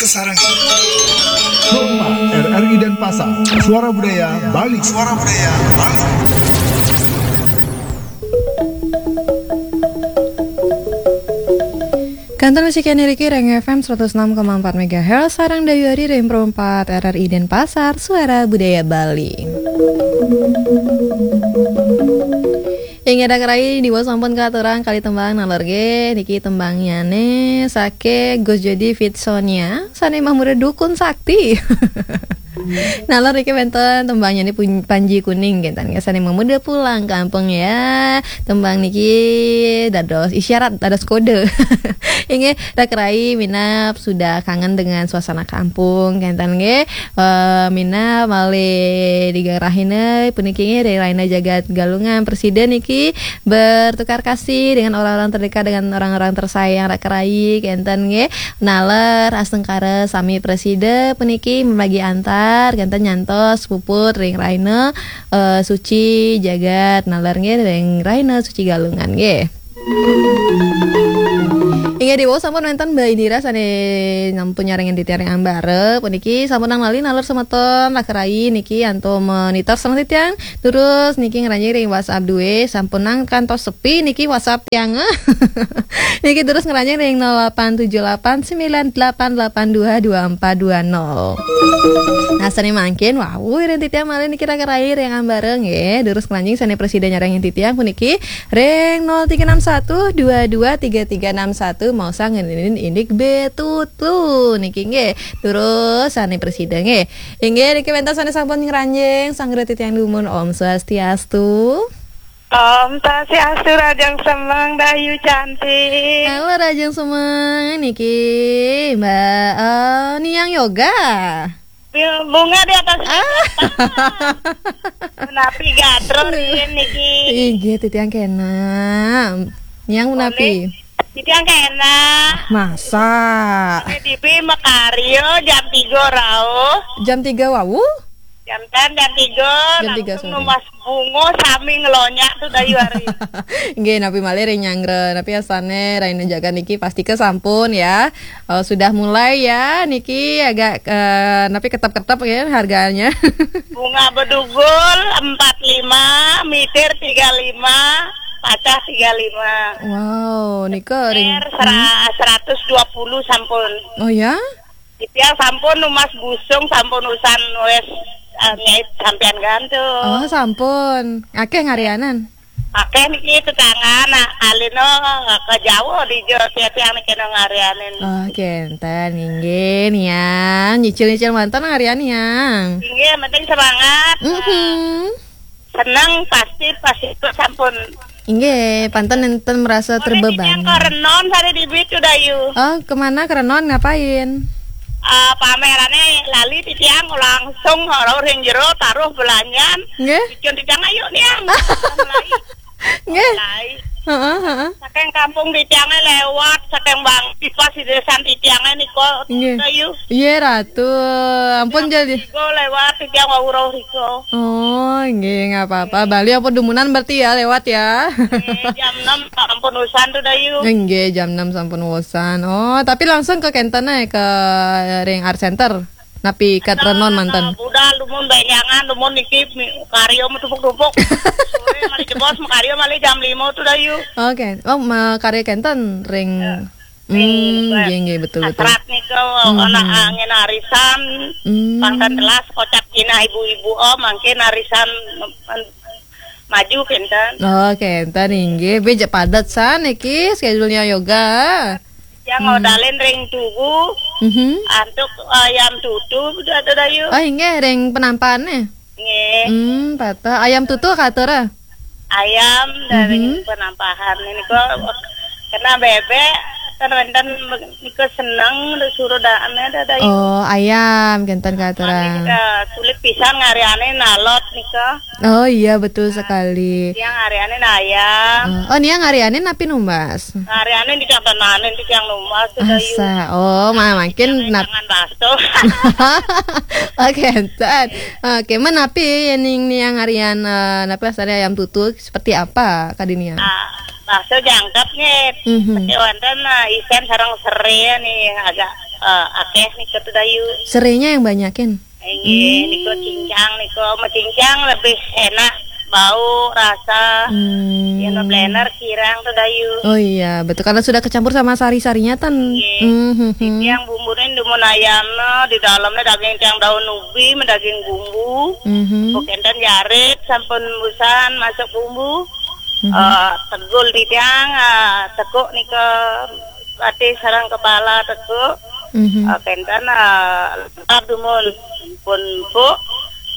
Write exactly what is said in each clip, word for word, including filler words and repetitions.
Sarang. Rumah R R I Denpasar, Suara Budaya Bali. Suara Budaya Bali. Kantor musik yang diriki Reng F M seratus enam koma empat megahertz, sarang dayuh ari Reng Pro empat R R I Denpasar, Suara Budaya Bali. Inggih, rak rai, diwau sampun katurang kalih tembang nalor nggih. Niki tembangnyane saking Gus Jody feat Sonia, sane mamuda Dukun Sakti. Nalor niki wenten tembangnyane pun-, Panji Kuning, kenten nggih, sane mamuda Pulang Kampung ya. Tembang niki dados isyarat, dados kode. Inggih, rak rai, minab sudah kangen dengan suasana kampung, kenten nggih. Eh, minab malih tigang rahina puniki nggih, ring rahina jagat Galungan, prasida niki bertukar kasih dengan orang-orang terdekat, dengan orang-orang tersayang, rak rai, kenten nggih. Nalor astungkara sami prasida puniki mabagi antar, kenten nyantos puput ring rahina, eh, suci jagat nalor nggih, ring rahina suci Galungan nggih. Inggih, diwau sampun wenten Mbak Indira sane sampun nyarengin titiang ring ambara. Puniki sampun nang lali nalor semeton, rak rai niki antuk monitor sareng titiang. Terus niki ngranjing ring WhatsApp duwe, sampun nang kantos sepi niki WhatsApp tiang. Niki terus ngranjing ring nol delapan tujuh delapan sembilan delapan delapan dua dua empat dua nol. Nah, sane mangkin wau ring titiang malih niki, rak rai, ring ambara nggih. Terus ngranjing sane prasida nyarengin titiang puniki ring nol tiga enam satu dua dua tiga tiga enam satu, maosang ngeninin indik B tutu niki nggih. Terus sane prasida nggih. Inggih, niki wenten sane sampun ngranjing, sanggra titiang dumun, Om Swastiastu. Om Swastiastu, rahajeng semeng, Dayu cantik. Halo, rahajeng semeng, niki Mbak, eh, Niang Yoga. Bunga di atas meja. Menapi gatra riin niki. Inggih, titiang kena. Niang menapi? Titiang kena. Masa? Ini dibi makarya jam tiga rauh. Jam tiga wau? Jam tan, jam tiga, jam tiga langsung sore. Numbas bunga sami ngelonyak tuh, Dayu ari. Nggih, napi malih ring nyanggra, napi asane rahina jagat niki pastika sampun ya. Oh, sudah mulai ya, niki agak, eh, napi ketep-ketep ya harganya. Bunga bedugul empat lima, mitir tiga lima, pacah tiga lima. Wow, nika ring, sera-, hmm, seratus dua puluh sampun. Oh ya? Titiang sampun numbas busung, sampun usan wes, eh, nyait sampean gantung. Oh, sampun. Akeh ngarianan? Akeh niki tetangga, nak alino ke jauh di jo, tiang niki no ngarianin. Oh, kenten, inggih, Niang. Nyicil-nyicil manten ngarian, Niang. Inggih, yang penting semangat. Mhm. Seneng pasti, pasti itu sampun. Inggih, panten enten merasa terbeban. Titiang ke Renon sare dibi tuh, Dayu. Oh, kemana ke Renon? Ngapain? Ah, pamerane lali titiang langsung ora ring jero taruh belanjan. Nggih. Bikin titiang, "Ayo, Niang." Mulai. Nggih. Mulai. Heeh, heeh. Saking kampung titiange lewat, saking Bang Pipas di desa titiange niko, nggih. Dayu. Iya, Ratu. Ampun, jam jadi tiga lewat, titiang wau rauh riko. Oh, nggih, nggak apa-apa. Bali ampun dumunan berarti ya, lewat ya. Nggih, jam enam ampun usan tuh, Dayu. Nggih, jam enam sampun usan. Oh, tapi langsung ke kenten ae, ke ring Art Center. Napi kat Renon manten? Budal dumun benjangan, dumun niki mi-, karya metumpuk-tumpuk. Sore malih jebos, makarya malih jam lima tuh, Dayu. Oke. Oh, makarya kenten ring. Hmm, nggih, nggih, betul, betul. Hasrat nika, mhm, ana angin arisan, hmm, pangkat telas kocap kinah ibu-ibu, oh, mangkin arisan maju kenten. Oh, kenten, inggih. Beja padet san niki schedule-nya Yoga. Yang, hmm, ngodalin ring tugu, mhm, antuk ayam tutu, ada, Dayu. Oh, inggih, ring penampane. Nggih. Hmm, patah. Ayam tutu katur, ah? Ayam dari, mhm, penampahan. Ini kok kena bebek, kan wenten niku seneng suruh daan ada, Dayu. Oh, ayam kenten katur, ah. Sulit pisan ngariane nalot nika. Oh iya, betul sekali. Yang ngariane ayam. Oh, oh, Niang ngariane napi numbas? Ngariane di Cangtananin, di Cang numbas tuh, Dayu. Asa. Oh, ma-, mungkin nap- jangan baso. Oke, entar. Oke, menapi yening Niang ngarian, eh, napi asale ayam tutu, seperti apa kadi Niang? Ah, bakso jangkep nih. Mhm. Tapi wonten, eh, isen sareng sere nih, agak Eh, akeh nika tu Dayu. Serenya yang banyakin. Inggih, hmm, nika cincang nika, mecincang lebih enak bau, rasa. Hmm. Yen blender kirang tu Dayu. Oh iya, betul. Karena sudah kecampur sama sari-sarinya tan. Inggih. Hmm, hmm, hmm. Yang bumbune dumun ayamnya, di dalamnya daging yang daun ubi, daging bumbu. Hmm. Bukan tan jarit, sampun busan masuk bumbu. Hmm. Eh, tegul di tiang, eh, tekuk nika, ati sarang kepala tekuk. Mhm. Eh, kenten, eh, lengkap dumun. Pun empuk,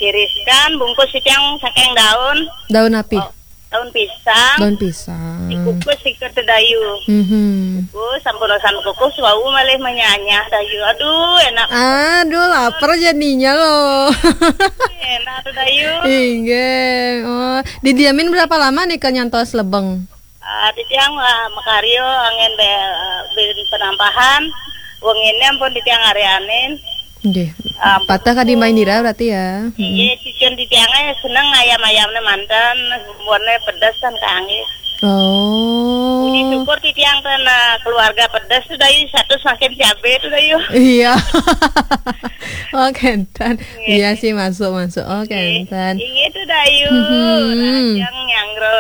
tiriskan, bungkus sitiang saking daun. Daun api? Oh, daun pisang. Daun pisang. Dikukus sikat Dayu. Mhm. Kukus, sampun usan kukus, wau malih menyanyah Dayu. Aduh, enak. Aduh, lapar jadinya loh. Enak tu Dayu. Inggih. Oh, didiamin berapa lama nih ke nyantos lebeng? Ah, titiang, ah, makarya angin be-, ah, bin penampahan, wengine ampun titiang arianin. Nggih. Ah, patah kadi main dira berarti ya. Hmm. Iya, cucun titiangnya seneng ayam-ayamnya mantan, warnanya pedas kan kanggih. Oh. Puji syukur titiang ten, ah, keluarga pedas tu Dayu, satu semakin cabe tu Dayu. Iya. Oh, kenten. Nggih. Iya sih, masuk, masuk. Oh, nggih. Kenten. Inggih tu Dayu. Mhm. Rahajeng nyanggra,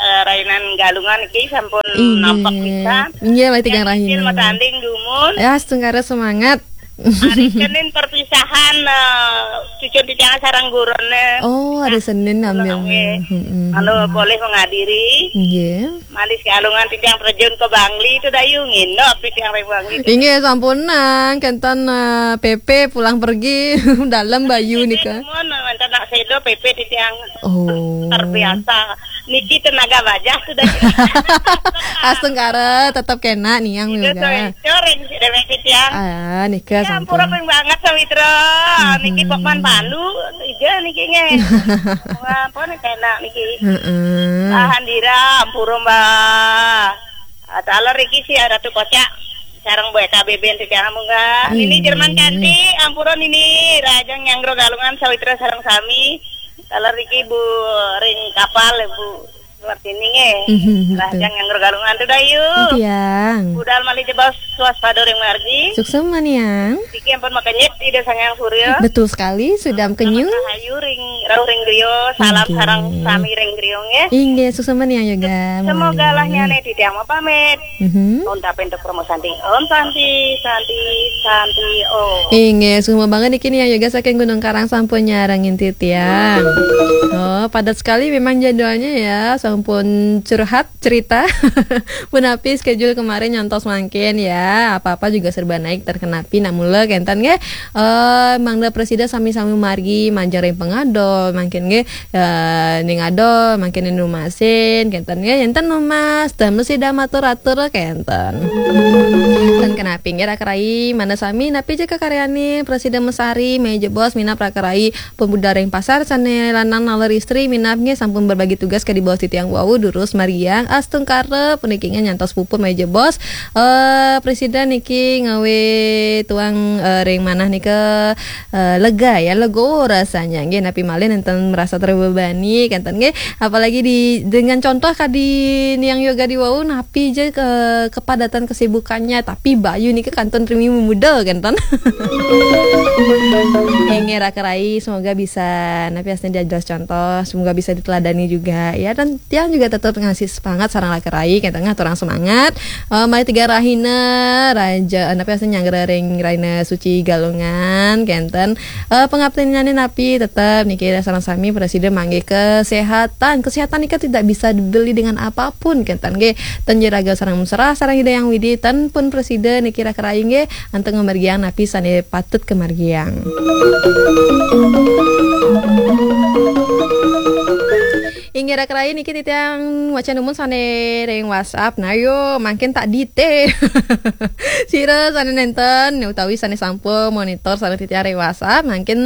eh, rainan Galungan iki sampun, inggih, nampak pisan. Inggih, mari tigang rahina. Matanding dumun. Ya, astungkara semangat. Hari Senin perpisahan, eh, cucun titiang sareng gurune. Oh, hari Senin ambil. Nggih. Mm-mm. Anu boleh menghadiri. Nggih. Malih Galungan titiang terjun ke Bangli tu Dayu, nginep titiang ring Bangli. Inggih, sampunang, kenten, eh, P P pulang pergi dalam Bayu nika. Mun wonten nak sedo P P titiang. Oh. Luar biasa. Niki tenaga bajah tu Dayu. Astungkara tetap kena niang juga. Coreng si dewek titiang. Ah, nika. Ya, sampun. Ampura ping banget sawitra. Mhm. Niki Pokman Pandu, ija niki nggih. Ampun kena niki. Heeh. Lahan dira, ampura, Mbak. Ah, taler iki si Ratu Kocak sareng Bu Eka Beben titiang munggah. Nini Jerman Cantik, ampura Nini, Rahajeng nyanggra Galungan sawitra sareng sami. Taler iki Bu ring kapal, Bu Martini nggih. Mhm, betul. Rahajeng nyanggra Galungan tu Dayu. Tiang. Budal malih jebos waspada ring margi. Suksma niang. Niki ampun makenyit Ida Sang Hyang Surya. Betul sekali, sudah makenyit. Rahayu ring, rauh ring griya, salam sareng sami ring griya nggih. Inggih, suksma niang juga. Semoga lah nyane titiang mapamit. Mhm. Om tapin tuk promo santi. Om santi, santi, santi, om. Inggih, suksma banget niki niang juga saking Gunung Karang sampun nyarengin titiang. Oh, padat sekali memang jadwalnya ya, sampun curhat cerita. Punapi schedule kemarin nyantos mangkin ya. Apa-apa juga serba naik terkenapi nak mula kenten nggih. Eh, mangda prasida sami-sami margi majeng ring pangada mangkin nggih. Eh, ning ada mangkin ning rumasin kenten nggih. Enten numas, ten mesti dah matur-atur kenten. Ten kenapi nggih raka rai, mangda sami napi ja kakaryane prasida mesari, meja bos minap raka rai pemuda ring pasar sane lanang naler istri minap nggih sampun berbagi tugas kadi bos titiang wau durus margiang astungkara puniki nggih nyantos puput meja bos. Eh, prasida niki ngawe tuang, eh, ring manah nika, eh, lega ya, legowo rasanya nggih napi malih nenten merasa terbebani kenten nggih. Apalagi di, dengan contoh kadi niang yoga di wau napi ja ke kepadatan kesibukannya, tapi Bayu niki kantun rimi memuda kenten. Inggih raka rai, semoga bisa napi asne diados contoh, semoga bisa diteladani juga ya, dan tiang juga tetap ngasih semangat sareng raka rai kenten ngaturang semangat. Eh, mari tiga rahina raja, napi asne nyanggra ring raina suci Galungan kenten. Eh, pangaptinnyane napi tetep niki sareng sami prasida manggih kesehatan. Kesehatan nika tidak bisa dibeli dengan apapun kenten nggih. Ten ja raga sareng mesra sareng Ida Hyang Widi, ten pun prasida niki raka rai nggih antuk ngamargiang napi sane patut kamargiang. Inggih raka rai niki titiang wacan dumun sane ring WhatsApp. Nah, yo, mangkin tak dite. Sira sane nenten utawi sane sampun monitor sane titiang ring WhatsApp, mangkin,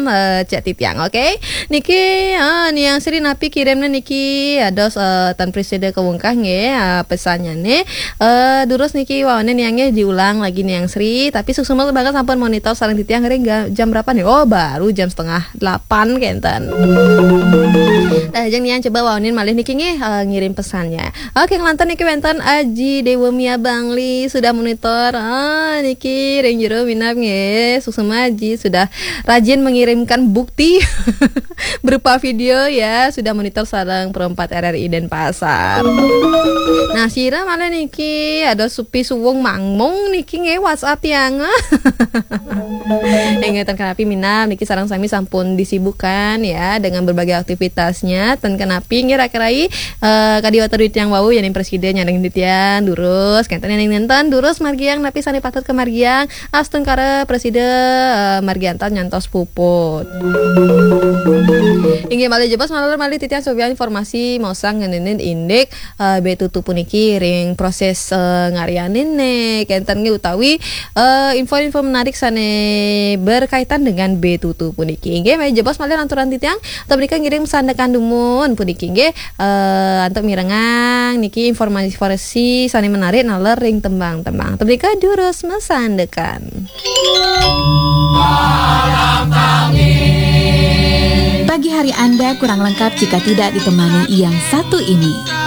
eh, cek titiang, oke? Niki, eh, Niang Sri napi kirimne niki, ados, eh, tan prasida kawungkah nggih, eh, pesannyane. Eh, durus niki wawane Niang nggih diulang lagi Niang Sri, tapi suksma banget sampun monitor sareng titiang ring ga-, jam berapa nih? Oh, baru jam setengah delapan kenten. Nah, jeng Yang coba waonin malih niki nggih, eh, ngirim pesannya. Oke, ngelantur niki wenten Aji Dewa Mia Bangli sudah monitor. Ah, niki ring jero minab nggih. Suksma Aji sudah rajin mengirimkan bukti berupa video ya, sudah monitor sareng Pro empat R R I Denpasar. Nah, sira malih niki ada Supi Suwung Mangmung niki nggih WhatsApp tiang. Inggih, ten kenapi minab niki sareng sami sampun disibukkan ya dengan berbagai aktivitasnya. Ten kenapi nggih rak-rai, eh, kadi wau titiang wau yening presiden nyandeng titiang durus, kenten yening nenten durus margiang napi sane patut ke margiang, astungkara presiden, eh, margiantar nyantos puput. Inggih malih jebos malih malih titiang sobian informasi mosang ngeninin indik eh, B tutu puniki ring proses, eh, ngaryanin ne kenten nggih utawi, eh, info-info menarik sane berkaitan dengan B tutu puniki. Nggih, malih jebos malih lanturan titiang, tepnika ngiring sandekan dumun puniki nggih, eh, antuk mirengang niki informasi-informasi sane menarik naler ring tembang-tembang. Tepnika durus masandekan. Pagi hari Anda kurang lengkap jika tidak ditemani yang satu ini.